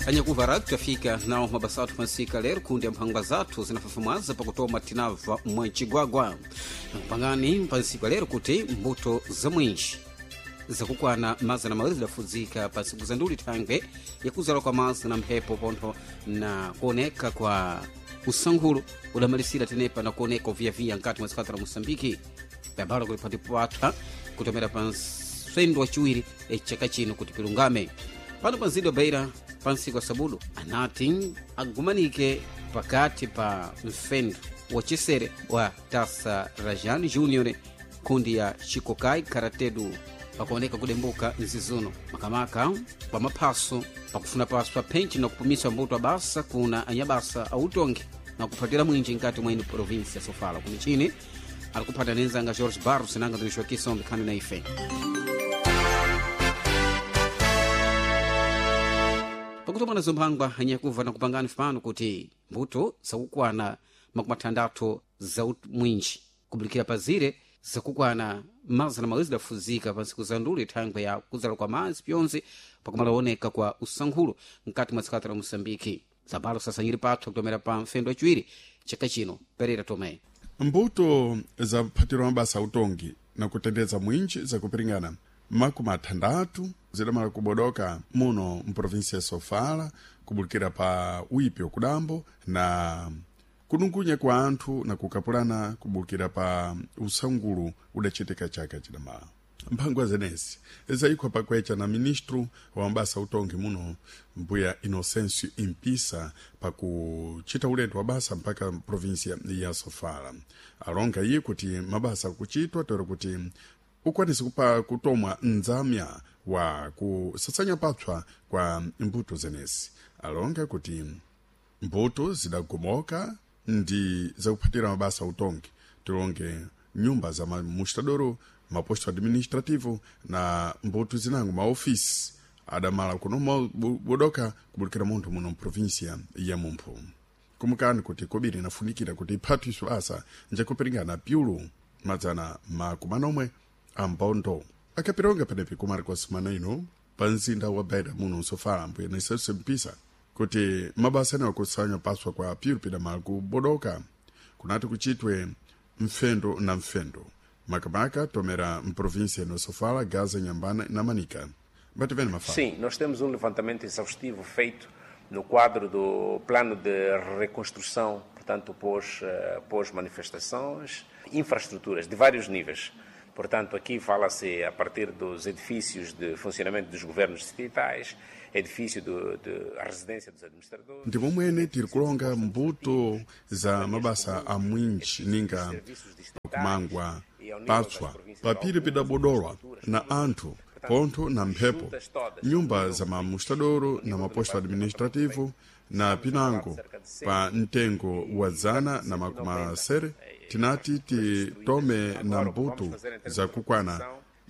Anyakuva ratu tafika nawo mabasa athu pansika lero kundi mphangwa zathu zinafafumwaza pakutoma tinabva mwancigwagwa pangani pansika lero kuti mbuto za mwinji zakukwana 200 zidafudzika pa ntsiku za nduli thangwe yakuzala kwa madzi na mphepo pontho na kuoneka kwa usankhulu udamalisira tenepa na kuoneka uviyaviya nkati mwa dzikati la moçambike pambalo kuti patipatha kutomera pa nsendo waciwiri chaka chino kuti pilungame pano pa mzinda wa beira pa ntsiku ya sabudu anati agumanike pakati pa mfendo wacesere wa tasa rajan junior kundi ya chikokai karatedu pakuoneka kudembuka mzizuno makamaka pa maphaso pakufuna paso pa phenchi na kupumisa mbuto abasa kuna anyabasa autongi na kuphatira mwinji nkati mwa ino provinsi ya sofala kumichini alikuphata nenzanga george barros nanga ndinixokisa ombikhani na ife pakutomana zomphangwa anyakuva na kupangani fano kuti mbuto zakukwana 60 za mwinji kubulikira pazire zakukwana 200 zidafuzika pa ntsiku za nduli thangwe ya kuzala kwa madzi pyonse pakumalaoneka kwa usankhulo mkati mwa dzikati la moçambike zabalo sasanyiri pathu kutomera pa mfendo waciwiri chaka chino perera tomé mbuto zaphatirwa mabasa autongi na kutendeza mwinji zakupiringana 60 zidamala kubodoka muno mprovinsia ya sofala kubulikira pa uipi wakudambo na kunungunya kwa anthu na kukapulana kubulikira pa usangulu udachitika chaka chidamala mphangwa zenezi zayikhwa pakwecha na ministro wa mabasa autongi muno mbuya inocencio impisa pakuchita ulendo wa basa mpaka provinsia ya sofala alonga iye kuti mabasa akuchitwa tero kuti ukwanise kupa kutomwa nzamya wa kusasanya papswa kwa mbuto zenezi alonga kuti mbuto zidagomoka ndi zakuphatira mabasa autongi tilonge nyumba za mamustadoro maposto administrativo na mbuto zinango maofisi adamala kuno bodoka kubulikira munthu muno mprovinsia ya mumphu kumukani kuti kobiri inafunikira kuti iphathiswe asa njakupiringana pyulu 400 ambondo akapironga penepi kumariko semana ino pa mzinda wa beira muno msofala mbuya nisenso mpisa kuti mabasa anewa kusanywa paswa kwa pyulu pidamala kubodoka kunati kuchitwe mfendo na mfendo makamaka tomera mprovíncia ino sofala gaza nhambana na manica bativene mafala Sim, nós temos um levantamento exaustivo feito no quadro do plano de reconstrução, portanto, pós, pós-manifestações, infraestruturas de vários níveis. Portanto, aqui fala-se a partir dos edifícios de funcionamento dos governos distritais, edifício de a residência dos administradores. Ndipo mwene tiri kulonga mbuto za mabasa a mwinji ninga pakumangwa patswa papiri pidabodolwa na anthu pontho na mphepo nyumba za mamustadoro na maposto administrativo na pinango pa mtengo wa 160 tinati titome na mbuto zakukwana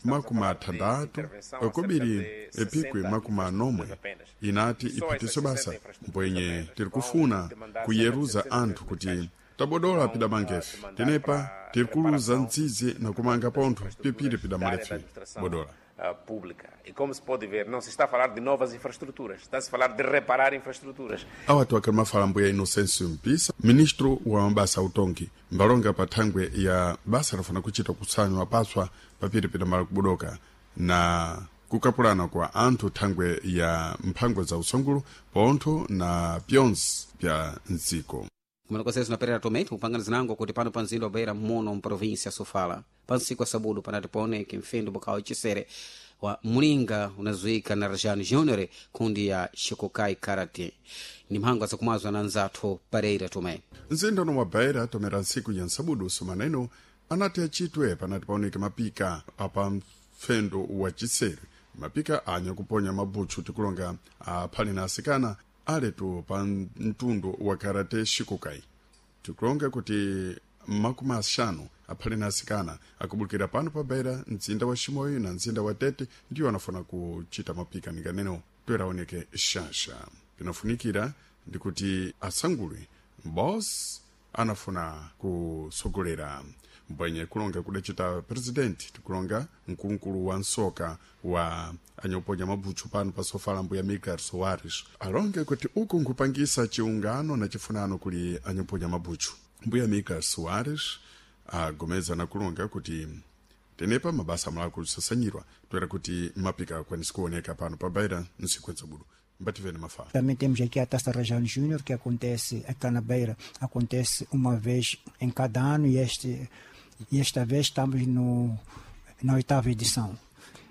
60 kobiri epikwe 40 inati iphatiso basa mbwenye tiri kufuna kuyeruza anthu kuti tabodola pidamangefe tenepa tiri kuluza ntsizi na kumanga pontho pipiri pidamalefe bodola pública. E como se pode ver, não se está a falar de novas infraestruturas, está-se a falar de reparar infraestruturas. Awatu akali mafala mbuya Inocêncio Mpisa, ministro wa mabasa autongi, mbalonga pa thangwe ya basa lafuna kuchita kusanywa paswa papiri pidamala kubodoka na kukapulana kwa anthu thangwe ya mphango za usangulu pontho na pyonse pya mdziko. Kumene konse zinaperera tomé kupangana zinango kuti pano pa mzinda wa beira muno mprovinsia ya sofala pa ntsiku ya sabudu panati paoneke mfendo bukhawa cisere wa mlinga unazuika na rajan junior kundi ya shikokai karate ni mphangwa zakumwazwa na nzathu pereira tomé mzinda uno wa beira tomera ntsiku ya nsabudu sumana ino anati achitwe panati paoneke mapika apa mfendo wa chisere mapika anya kuponya mabutchu tikulonga aphali na asikana aletu pa mtundu wa karate shikokai tikulonga kuti 50 aphali na asikana akubulukira pano pa beira mzinda wa shimoyo na mzinda wa tete ndiwo anafuna kuchita mapika ninganeno toeraoneke shasha pinafunikira ndikuti asangulwe boss anafuna kusogolera Mbwenye kulonga kudacita presidenti, tikulonga mkulukulu wa nsoka wa anyoponya mabutchu pano pa Sofala, mbuya Miguel Soares, alonge kuti uku nkupangisa chiungano na chifunano kuli anyoponya mabutchu. Mbuya Miguel Soares agomeza na kulonga kuti tenepa mabasa mulakusasanyirwa toera kuti mapika akwanisi kuoneka pano pa Beira nsikwenza budu. Mbativene mafala. Também temos aqui a Taça Rajane Júnior, que acontece aqui na Beira, acontece uma vez em cada ano e esta vez estamos no, na 8ª edição.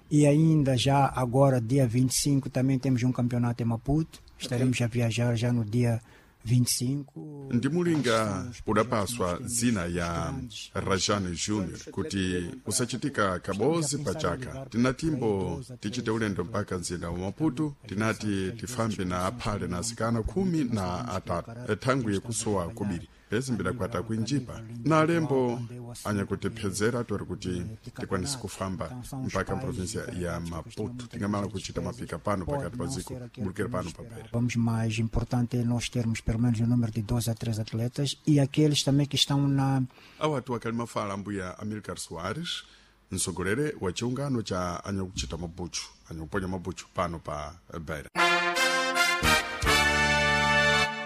E ainda já agora, dia 25, também temos um campeonato em Maputo. Estaremos a viajar já no dia 25. Ndimulinga udapaswa zina ya Rajane Junior kuti usachitika kabozi pachaka. Tinatimbo tichite ulendo mpaka mzinda wa Maputo, tinati tifambe na aphale na asikana 13 thangwi yekusowa kubiri pezi kwata kuinjipa na alembo anyakutiphedzera tori kuti tikwanise kufamba mpaka mprovinsia ya Maputo. Tingamala kuchita mapika pano pakati pa ziko bulukira pano pa Beira. Vamos mais importante é nós termos pelo menos o número de 12 a 13 atletas e aqueles também que estão na Awatu akali mafala ambuya Amilcar Soares, msogolere wa chiungano cha anyakuchita mabutchu, anyakuponya mabutchu pano pa Beira.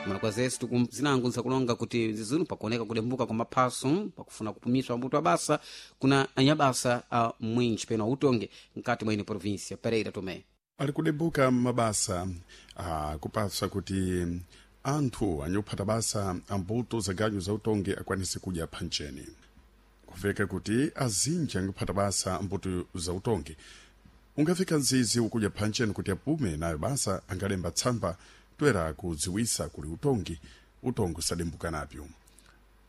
Mwanakwazesu zinango nsakulonga kuti zizunu pakuoneka kudembuka kwa maphaso pakufuna kupumiswa mbuto abasa kuna anyabasa a mwinji peno autonge mkati mwa ine província Pereira Tomé. Ali kudembuka mabasa akupasa kuti anthu anyophata basa ambuto za ganyu za utongi akwanise kudya phancheni, kuveka kuti azinji angophata basa ambuto za utongi ungafika nzizi ukudya phancheni kuti apume nayo basa angalemba tsamba toera kudziwisa kuli utongi, utongi usadembuka napyo.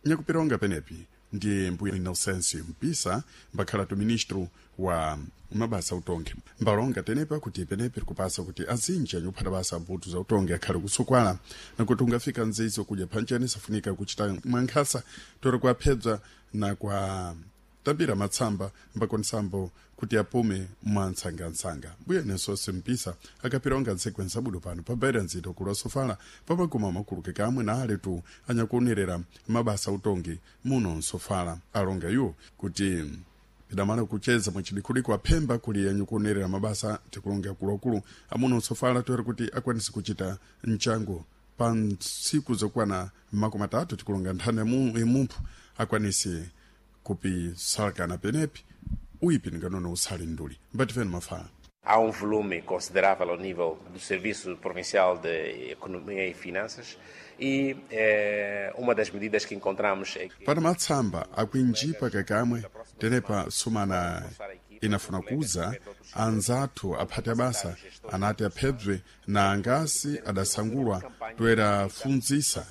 Nyakupironga penepi ndiye mbuya Inocêncio Mpisa, mbakhalatu ministro wa mabasa utongi, mbalonga tenepa kuti penepi likupasa kuti azinji anyophata basa mbuto za utongi akhale kusukwala nakuti ungafika nzizi ukudya phancheni safunika kuchita mwankhasa tori kuaphedza na kwa tambira matsamba mbakonisambo kuti apume mwantsangantsanga. Mbuya Inocêncio Mpisa akapironga nsekwensa budo pano pa Beira nzito kulu Sofala papaguma makuluke kamwe na aletu anyakuonerera mabasa utongi muno nsofala. Alonga iwo kuti pidamala kucheza mwachidikudiko aphemba kuli anyukuonerera mabasa, tikulonga akuluakulu amuno nsofala toera kuti akwanise kuchita mchango pa ntsiku zokwana 30, tikulonga nthano imumphu akwanise kupisalakana penepi uipi nganono usali nduli. Mbatifeni mafala. Há um volume considerável ao nível do Serviço Provincial de Economia e Finanças e uma das medidas que encontramos é que... Para matsamba akuinjipa kakamwe tenepa sumana inafuna kuza anzathu aphati abasa anati aphedzwe na angasi adasangulwa toera funzisa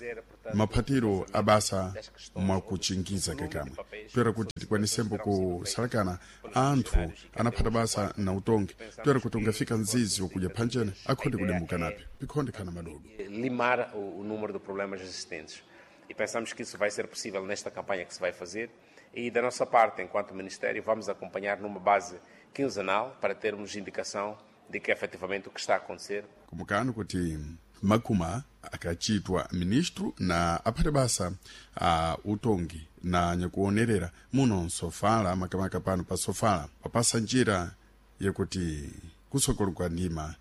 maphatiro abasa mwakuchingiza kakamwe toera kuti tikwanisembo kusalakana anthu anaphata basa na utongi toera kuti ungafika nzizi wakudya phanchene akhonde kudembuka napyo pikhonde khana madodo. Limar o número de problemas existentes. E pensamos que isso vai ser possível nesta campanha que se vai fazer. E da nossa parte, enquanto Ministério, vamos acompanhar numa base quinzenal para termos indicação de que efetivamente o que está a acontecer. Kumukano kuti makuma akachitwa ministro na aphate basa a utongi na nyakuonerera muno nsofala makamaka pano pa Sofala papasa njira yakuti kusokolo kwa ndima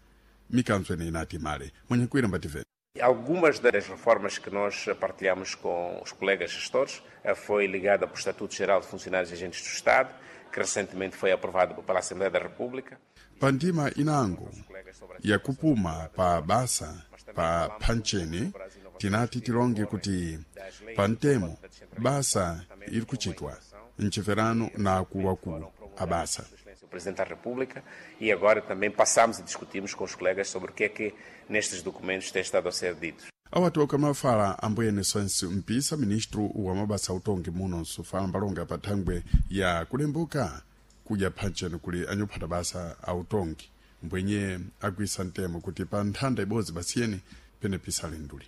mikanzo ene inati male mwanyakwira mbative. Algumas das reformas que nós partilhamos com os colegas gestores foi ligada para o Estatuto Geral de Funcionários e Agentes do Estado, que recentemente foi aprovado pela Assembleia da República. Pandima inango yakupuma pa basa pa phancheni tinati tilonge kuti pantemo basa iri kuchitwa mchiferano na akuluakulu abasa. O Presidente da República, e agora também passamos e discutimos com os colegas sobre o que é que nestes documentos tem estado a ser dito. Awatoka mafala ambuye Inocêncio Mpisa, ministro wa mabasa utongi muno nsofala, mbalonga pa thangwe ya kulembuka kudya phancheni kuli anyophata basa autongi mbwenye agwisa mtemo kuti pa nthanda ibodzi basiyeni pene pisale nduli.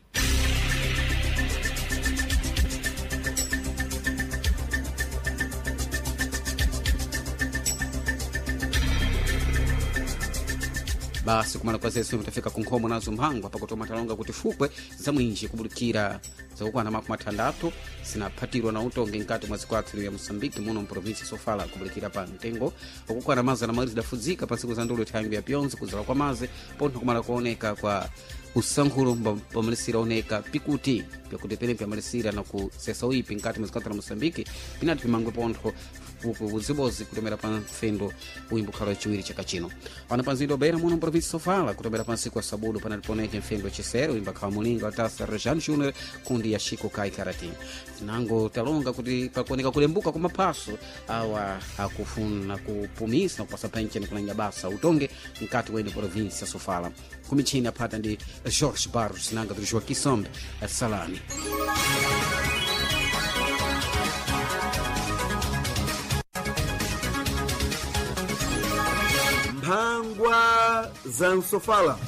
Basi kumala kwa zesu mtafika kunkhomo nazo mphangwa pakutoma talonga kuti fukwe za mwinji kubulikira zakukwana 60 zinaphatirwa na utongi mkati mwa zikwathu ya Moçambique muno mprovinsi Sofala kubulikira pa mtengo wakukwana 200 zidafudzika pa ntsiku za ndulu thangwi ya pyonzi kuzala kwa mazi pontho kumala kuoneka kwa usankhulo pamalisira oneka pikuti pyakuti pene pyamalisira na kusesa uipi nkati mwa zikwathu la Moçambique pinati pimangwe pontho uzibozi kutomera pa mfendo uimbo khala wachiwiri chaka chino. Pano pa mzinda wa Beira muno mprovinsi Sofala kutomera pa nsiku wa sabudu panali poneke mfendo wachisere uimba khala mulinga watasa Rejane Junior kundi ya Chico Kai Karati. Tinango talonga kuti pakuoneka kulembuka kwa maphaso awa akufuna kupumisa na kupasa pencheni kulanya basa utonge mkati wene provinsi ya Sofala. Kumichini aphata ndi George Barros nanga tiri Kisombe Salani. Mphangwa za Nsofala.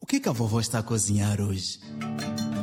O que que a vovó está a cozinhar hoje?